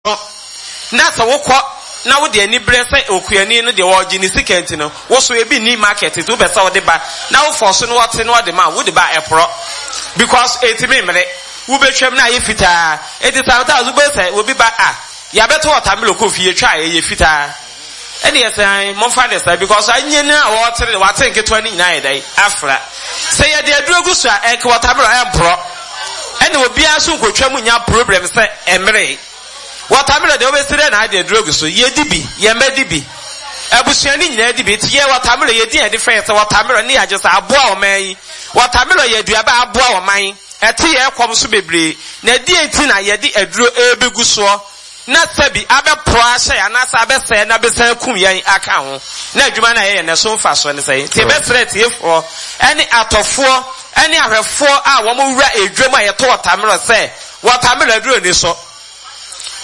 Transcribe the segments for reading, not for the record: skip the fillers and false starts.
No, na sɛ wokɔ na wode aniberɛ sɛ okuani no deɛ ɔregye ne sika nti no, wo so ebi nni market nti wopɛ sɛ wode ba na wo fɔɔso no ɔte na ɔde ma wo, wode ba a ɛporɔ because ɛntumi mmere, wobɛtwam na ayɛ fitaa. Nti sometimes wobɛhu sɛ obi ba a, yɛabɛtɔ watermelon kɔ fie, yɛtwa a ɛyɛ fitaa. Ɛne yɛ sɛ ae, momfa ne saa because anyɛ no a wɔretere no, wate nketewa no nyinaa ayɛ dɛn afra. Sɛ yɛde aduro gu so a, ɛnka watermelon ɛmporɔ. Ɛna obiara nso nkotwa mu nya problem sɛ ɛmmeree. Watermelon deɛ wobɛsi dɛn na ade aduro agu so? Yɛdi bi, yɛn mma di bi, abusua no nyinaa di bi. Nti yɛ watermelon, yɛdi a yɛde frɛ yɛ sɛ watermelon ne yɛagye sɛ aboa ɔman yi. Watermelon yɛ aduaba a aboa ɔman. Ɛte yɛn kɔm so bebree. Na ɛdeɛn nti na yɛde aduro ɛrebɛgu soɔ na sɛbi abɛporɔ ahyɛ yɛn anaasɛ abɛsɛe na abɛsan akum yɛn aka ho? Na adwuma no a yɛyɛ no ɛso mfasoɔ ne sɛn? Nti yɛbɛsrɛ atiefoɔ ne atɔfoɔ ne ahwɛfoɔ a wɔwura edwam a yɛtɔ watermelon sɛ, watermelon aduro nni so.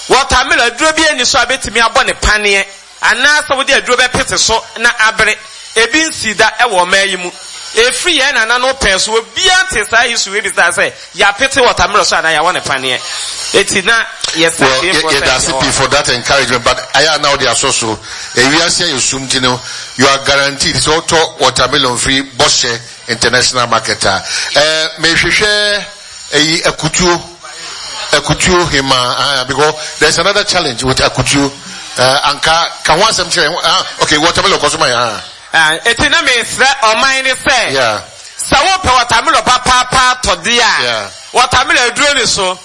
Watermelon aduro biara nni so a bɛtumi abɔ ne paneɛ anaasɛ wode aduro bɛpete so na abere. Ebi nsii da wɔ ɔman yi mu. Ɛfiri yɛn nananom pɛn so, obiara ntee saa issue wei bi saa sɛ yɛapete watermelon so anaa yɛawɔ no paneɛ. Enti na yɛsrɛ Well, atiefoɔ sɛ yɛda ase yɛwɔ pii for that encouragement, but ayɛ a na wode asɔ so. Ewiase ayɛ sum nti no, you are guaranteed sɛ wotɔ watermelon firi Bɔhyɛ International Market a. Eh, mehwehwɛ eyi akutuo, akutuo hemaa, ah, because there's another challenge with akutuo. Eh, anka, ka ho asɛm kyerɛ, ah, okay, watermelon kɔ so ma yɛn, ah. Ah, eti na mesrɛ ɔman no sɛ, Yeah. sɛ wopɛ watermelon papaapa atɔ deɛ a, Yeah. watermelon aduro ni so,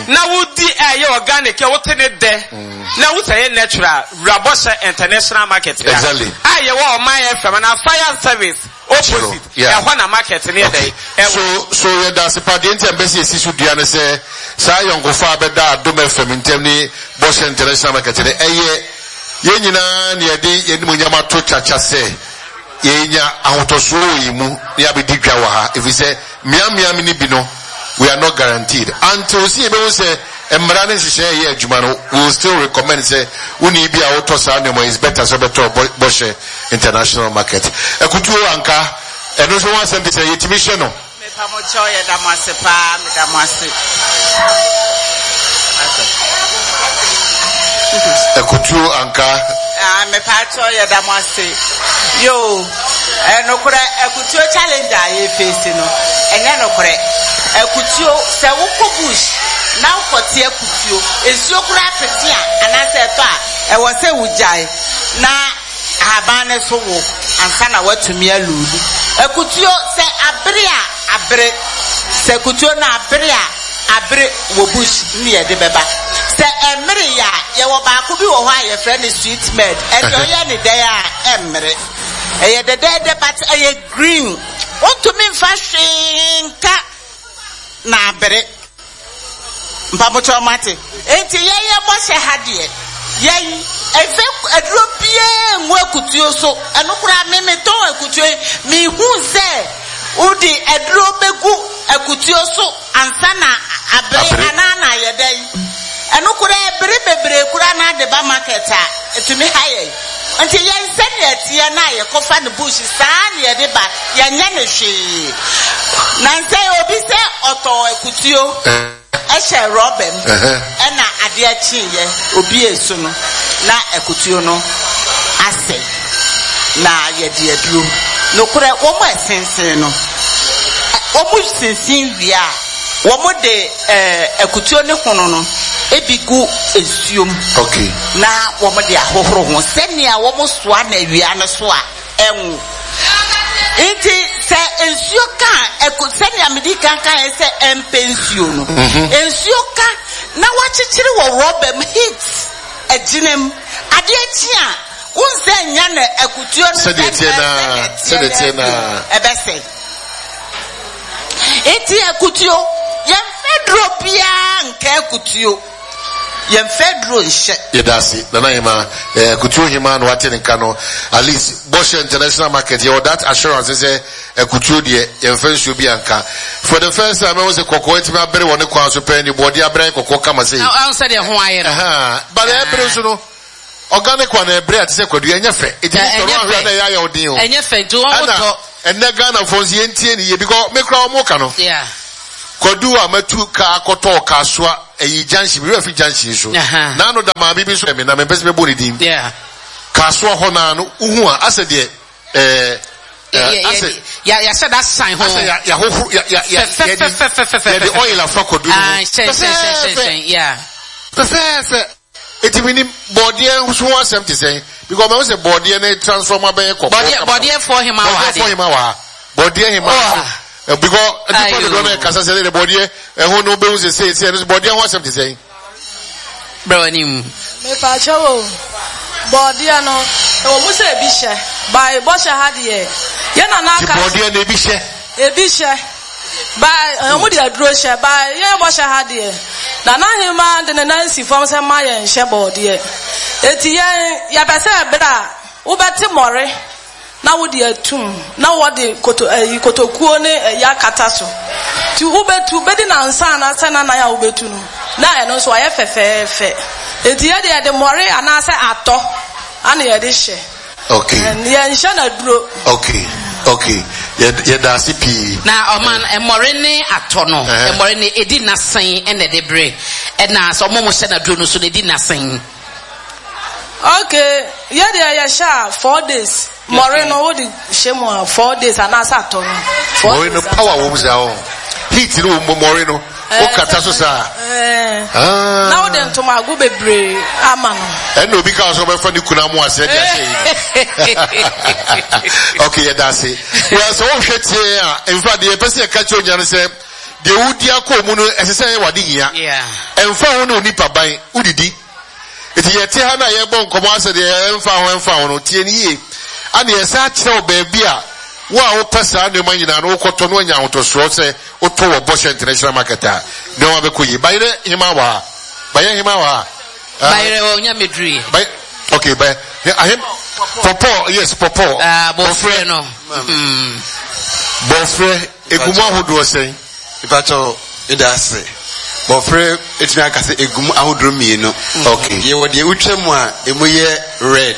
na wodi a ɛyɛ organic a wote ne dɛ, na wosɛ ɛyɛ natural, wura Bɔhyɛ International Market ha. Exactly. A yɛwɔ ɔman FM anaa Fire Service opposite, Yeah. ɛhɔ na market no yɛ dɛn? Ɛwɔ. So, so yɛda ase pa. Deɛ nti a mpɛ sɛ yɛsi so dua ne sɛ, saa ayɔnkofa a bɛda Adom FM ntam ne Bɔhyɛ International Market no, ɛyɛ yɛn nyinaa na yɛde yɛn animuonyam ato kyakya sɛ yɛnya ahotɔsoɔ wɔ yɛn mu na yɛabɛdi dwa wɔ ha, ɛfiri sɛ mmeammea no bi no, we are not guaranteed. Until sɛ yɛbɛhu sɛ mmara ne nhyehyɛeɛ yɛ adwuma no, we will still recommend sɛ wonni bi a wotɔ saa nneɛma, it's better sɛ wobɛtɔ Bɔhyɛ International Market. Akutuo anka, ɛno nso ho asɛm te sɛ yɛtumi hyɛ no. Mepa mo kyɛw yɛda mo ase paa meda mo ase. Akutuo anka. Ah, mepa kyɛw yɛda mo ase. Yo, ɛnokorɛ akutuo challenge a yɛfeesi no, ɛnyɛ nokorɛ. Akutuo, sɛ wokɔ bush na wokɔte akutuo, nsuo koraa pete a anaasɛ ɛtɔ a, ɛwɔ sɛ wogyae na ahaban no so wo ansa na woatumi aluudu. Akutuo, sɛ abere a, abere. Sɛ akutuo no abere a, abere wɔ bush ne yɛde bɛba. Sɛ ɛmmereeɛ a, yɛwɔ baako bi wɔ hɔ a yɛfrɛ no sweet med. Ɛdeɛ ɔyɛ ne dɛn a, ɛmmere. Ɛyɛ dɛdɛɛdɛ but ɛyɛ green. Wontumi mfa hwee nka na abere. Mpabokyɛw moate? Enti yɛn yɛ bɔhyɛ ha deɛ, yɛn ɛfɛ aduro biara ngu akutuo so. Ɛno koraa me metɔn akutuo yi, mehu sɛ wode aduro bɛgu akutuo so ansa na abere anaa na ayɛ dɛn. Ɛno koraa ɛbere bebree koraa na ade ba market a, ɛtumi ha yɛn. Nti yɛn sɛnea ɛteɛ no a yɛkɔfa no bush saa na yɛde ba, yɛnyɛ no hwee. Nansa yi obi sɛ ɔtɔɔ akutuo hyɛ rɔba mu ɛna adeɛ kyeeɛ obiee so no na akutuo no asɛe na yɛde aduro. Nokorɛ wɔn a ɛsensen no, wɔn sensen wie a wɔde akutuo ne hono no bi gu nsuo mu na wɔde ahohoro ho sɛnea wɔsoa no awia no so a ɛnwo. Nti sɛ nsuo ka a, ɛko sɛnea medi kan kaeɛ sɛ ɛmpɛ nsuo no, mhm. nsuo ka na wakyekyere wɔ rɔba mu heat agyina mu adeɛ kye a wonsɛ nya na akutuo no sɛdeɛ teɛ naa ɛbɛsɛe. Nti akutuo yɛmfa duro biara nka akutuo. Yɛmfa aduro nhyɛ. Yɛda ase Nana Hemaa. Eh, Akutuo Hemaa na wate ne nka no. At least Bɔhyɛ International Market yɛwɔ that assurance sɛ akutuo deɛ yɛmfa nsuo bi anka. For the first time ɛho sɛ kɔkɔɔ atumi abere wɔ ne kwan so pɛn de bɔɔde abere ayɛ kɔkɔɔ kama sei. Ahu sɛ deɛ ho ayɛ no. Ɛhaa, but ɛbere nso no organic one ɛbere a te sɛ kwadu ɛnyɛ fɛ. Eti Ɛnyɛ sɔrɔ ahwɛ fɛ. na ɛyɛ ayɛ ɔden o. Ɛnyɛ fɛ nti wɔn Ɛna tɔ. ɛnɛ Ghana fo nso yɛntie ne yie because me koraa wɔn ka no. Yeah. Kwadu a matu kaa akɔtɔ Kasoa ɛyi junction, mi werɛ fi junction so. N'ano da maame bi nso ɛmi na mempɛ sɛ mɛbɔ ne din. Kasoa hɔ naa no, wohu a asɛ deɛ ɛɛ asɛ yɛahyɛ da san ho. Asɛ yɛahohoro yɛ yɛ yɛ fɛfɛfɛfɛfɛ yɛde oil afa kwadu no ho. Fɛfɛɛfɛ. Fɛfɛɛfɛ. Eti mi ni bɔɔdeɛ nso ho asɛm te sɛn because ɔmo sɛ bɔɔdeɛ ne transform abɛyɛ kɔkɔɔ. Bɔɔdeɛ bɔɔdeɛ hema wɔ ha deɛ. Bɔɔdeɛ fɔ hema wɔ ha. Bɔɔdeɛ hema. Oh. Because nipa dodoɔ no ɛkasa sɛ ɛde bɔɔdeɛ ɛho no bɛhu sɛ sɛ sɛ ɛno bɔɔdeɛ ho asɛm te sɛn. Brɛ w'anim. Mepaakyɛw o, bɔɔdeɛ no ɛwɔ mu sɛ ebi hyɛ, by bɔhyɛ ha deɛ yɛ nana aka. Ti bɔɔdeɛ no ebi hyɛ. Ebi hyɛ. By ɔmo de aduro hyɛ by yɛn bɔhyɛ ha deɛ Nana Hemaa de ne nan si fam sɛ mma yɛn nhyɛ bɔɔdeɛ. Eti yɛn yɛpɛ sɛ ɛberɛ a wobɛte mmɔre na wode atum na wɔde koto ɛyi kotokuo ne ɛyi akata so. Ti wobɛtu bɛdi nansa anaasɛ nanan a wobɛtu no na ɛno nso ayɛ fɛfɛɛfɛ. Eti yɛ deɛ yɛde mmɔre anaasɛ atɔ ana yɛde hyɛ. Okay. Yɛnhyɛ no aduro. Okay. Okay. Yɛda ase pii. Na ɔman mmɔre ne atɔ no, mmɔre no edi n'asen ɛna ɛde bere ɛna sɛ ɔmo mo hyɛ no aduro no so na edi n'asen. Okay, yɛ deɛ yɛhyɛ a 4 days. Mmɔre no wode hyɛ mu a 4 days anaasɛ atɔ no. Mmɔre no power wɔ mu saa o. Heat no wɔ mu mmɔre no. Wokata so saa. Ah. Na wode ntomago bebree ama no. Ɛna obi ka sɛ ɔbɛfa ne kunu amu ase ɛde ahyɛ yi. Okay, yɛda ase. Well, sɛ wohwɛ tie a, nfa deɛ yɛpɛ sɛ yɛka kyerɛ onya no sɛ deɛ wodi akɔ mu no ɛsɛ sɛ ɛyɛ wade hia. Ɛmfa ho ne onipa ban wodidi. Eti yɛte ha na yɛbɔ nkɔmmɔ asɛ deɛ ɛmfa ho ɛmfa ho no tie no yie. Ana yɛsan akyerɛ wo baabi a wo a wopɛ saa nneɛma nyinaa no wokɔtɔ no anya ahotɔsoɔ sɛ wotɔ wɔ Bɔhyɛ International Market a, nneɛma bɛkɔ yie. Bayerɛ hema wɔ ha. Bayerɛ hema wɔ ha. Bayerɛ wɔ nya meduru yɛ. Bay okay bay ahem pɔpɔ yes pɔpɔ. Ah bɔfrɛ no. Bɔfrɛ egu mu ahodoɔ sɛn? Mepakyɛw, meda ase. Bɔfrɛ etumi aka sɛ egu mu ahodoɔ mmienu. Okay. Yɛwɔ deɛ wotwa mu a emu yɛ red.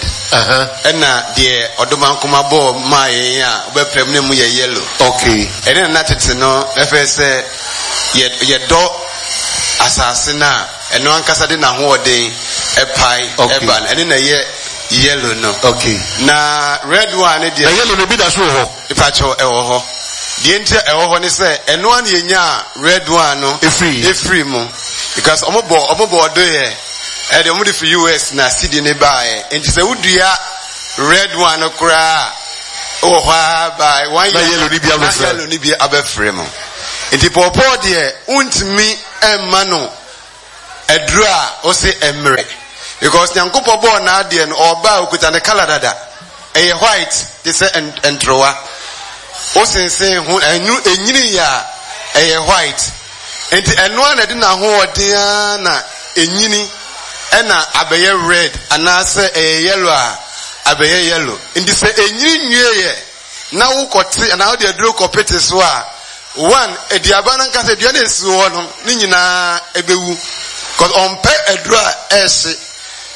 Ɛna deɛ ɔdomankoma bɔɔ maa yɛn a wobɛpɛ mu na emu yɛ yellow. Okay. Ɛne na na tete no ɛfɛ sɛ yɛ yɛdɔ asase no a ɛno ankasa de n'ahoɔden ɛpae ɛba no ɛne na ɛyɛ yellow no. Okay. Na red one ne deɛ. Na yellow no bi da so wɔ hɔ. Mepakyɛw, ɛwɔ hɔ. Deɛ nti a ɛwɔ hɔ ne sɛ, ɛno ara na yɛnyaa red one no efiri mu. Because ɔmo bɔ, ɔmo bɔ ɔdo yɛ, ɛde ɔmo de firi US na sidi ne baeɛ. Nti sɛ wodua red one no koraa a, wɔ hɔ ara by one Na year yellow no bi na abɛfra. yellow no bi abɛfiri mu. Nti pɔɔpɔɔ deɛ, wontumi mma no Aduru a ose ɛmmerɛ because Nyankopɔn bɔɔ n'adeɛ no ɔɔba a okuta ne colour dada ɛyɛ white te sɛ ntorowa wosensen ho ɛnu enyini yɛ a ɛyɛ white nti ɛno a na ɛde n'ahoɔden ara na enyini ɛna abɛyɛ red anaasɛ ɛyɛ yellow a abɛyɛ yellow nti sɛ enyini nwie yɛ na wokɔte anaa wode aduro kɔpete so a, one, aduaba no ankasa, dua no a esi hɔ no, ne nyinaa ɛbɛwu. Because ɔmpɛ aduro a ɛrehye.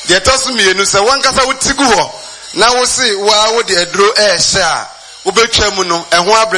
Deɛ ɛtɔ so mmienu, sɛ wankasa wote gu hɔ na wose waa wode aduro ɛrehyɛ a, wobɛtwa mu no, ɛho abrɛ.